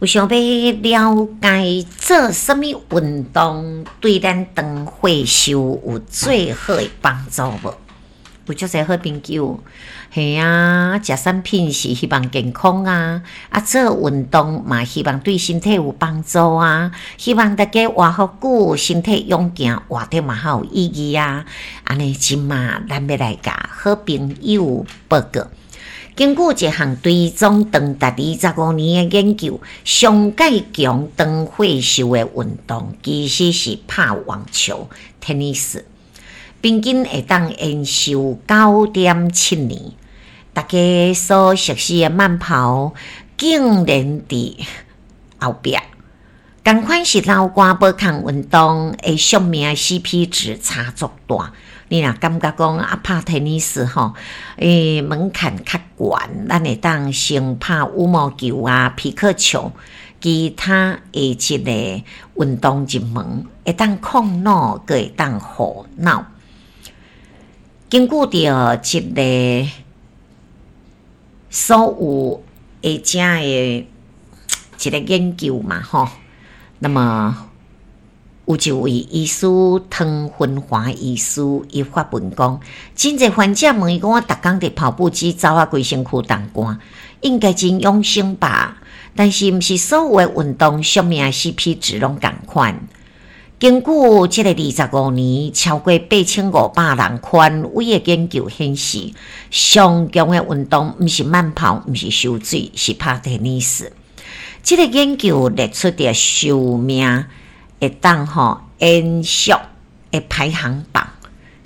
有想欲了解做啥物運動對咱長歲壽有最好的幫助無？有足濟好朋友，嘿啊，食產品是希望健康啊，啊做運動嘛希望對身體有幫助啊，希望大家活予久，身體勇健，活得嘛較有意義啊。按呢這馬咱欲來共好朋友報告。根據一項追蹤長達25年的研究，上蓋強長歲壽的運動其實是拍網球（tennis），平均會當延壽9.7年。大家所熟悉的慢跑，竟然佇後壁。仝款是流汗無仝運動的壽命 CP 值差足大。你若感覺講啊，拍 tennis 吼，門檻較懸，咱會當先拍羽毛球啊、匹克球，其他的這个運動入門，會當控腦，閣會當護腦。根據著這个所有的遮的一个研究嘛，吼，那麼有一位醫師湯芬華醫師，伊發文講，真濟患者問伊講，我逐工佇跑步機走啊，規身軀沓汗，應該真養生吧？但是毋是所有的運動壽命 CP 值攏仝款。根據這个25年超過8500人權威的研究顯示，上強的運動毋是慢跑，毋是泅水，是拍 tennis。這个研究列出著壽命會當吼延續的排行榜，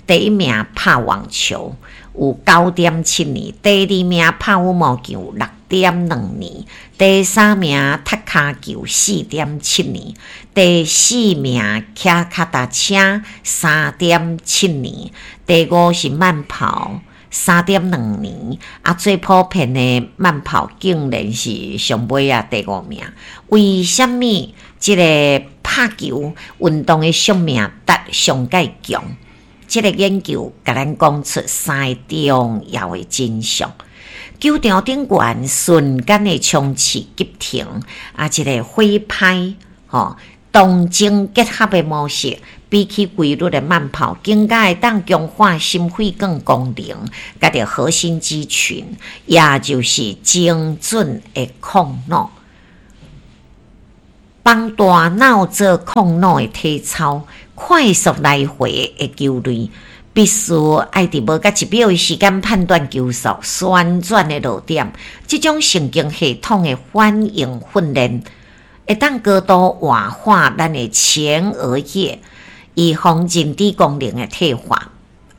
第一名拍網球有9.7年，第二名拍羽毛球6.2年，第三名踢跤球4.7年，第四名騎腳踏車3.7年，第五是慢跑3.2年，啊最普遍的慢跑竟然是上尾仔第五名。為啥物這个拍球運動的壽命達上蓋強？這个研究共咱講出三个重要的真相。球場頂懸瞬間的衝刺急停，啊，這个揮拍，吼，動靜結合的模式，比起規律的慢跑，更加會當強化心血管功能，佮著核心肌群，也就是精準的控腦，幫大腦做控腦的體操，快速來回的球類，必須愛佇無甲1秒的時間判斷球速、旋轉的落點，這種神經系統的反應訓練，會當高度活化咱的前額葉，預防認知功能的退化。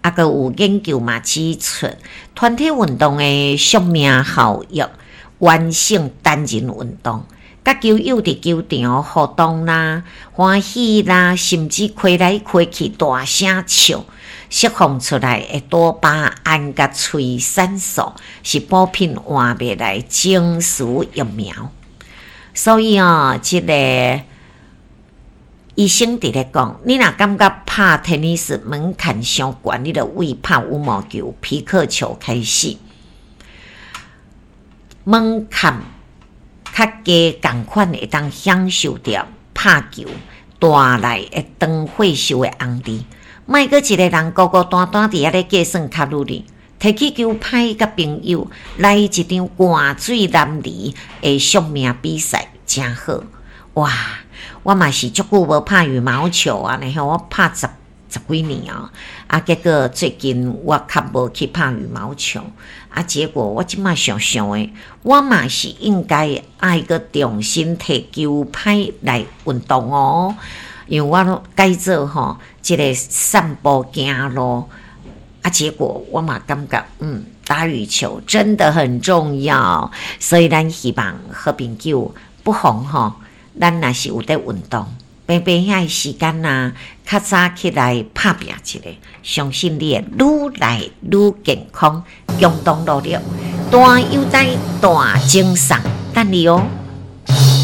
啊，閣有研究嘛指出，團體運動的壽命效益完勝單人運動。佮球友佇球場互動啦、歡喜啦，甚至開來開去大聲笑，釋放出來的多巴胺佮催產素，是補品換袂來情緒疫苗。所以哦，這个醫生佇咧講，你若感覺拍 tennis 門檻傷懸，你就為拍羽毛球、匹克球開始，門檻較低，仝款會當享受著拍球帶來的長歲壽的紅利。莫閣一个人孤孤單單佇遐咧計算卡路里，提起球拍佮朋友來一場汗水淋漓的惜命比賽，誠好。哇！我嘛是足久無拍羽毛球啊，然後我拍十幾年啊，啊，結果最近我較無去拍羽毛球，啊，結果我這馬想想的，我嘛是應該愛閣重新提球拍來運動哦，因為我改做吼這个散步行路，啊，結果我嘛感覺打羽球真的很重要，所以咱希望好朋友不妨吼，咱若是有佇運動，平平遐的時間啊，較早起來拍拚一下，相信你會愈來愈健康，共同努力，大悠哉大精神，等你哦。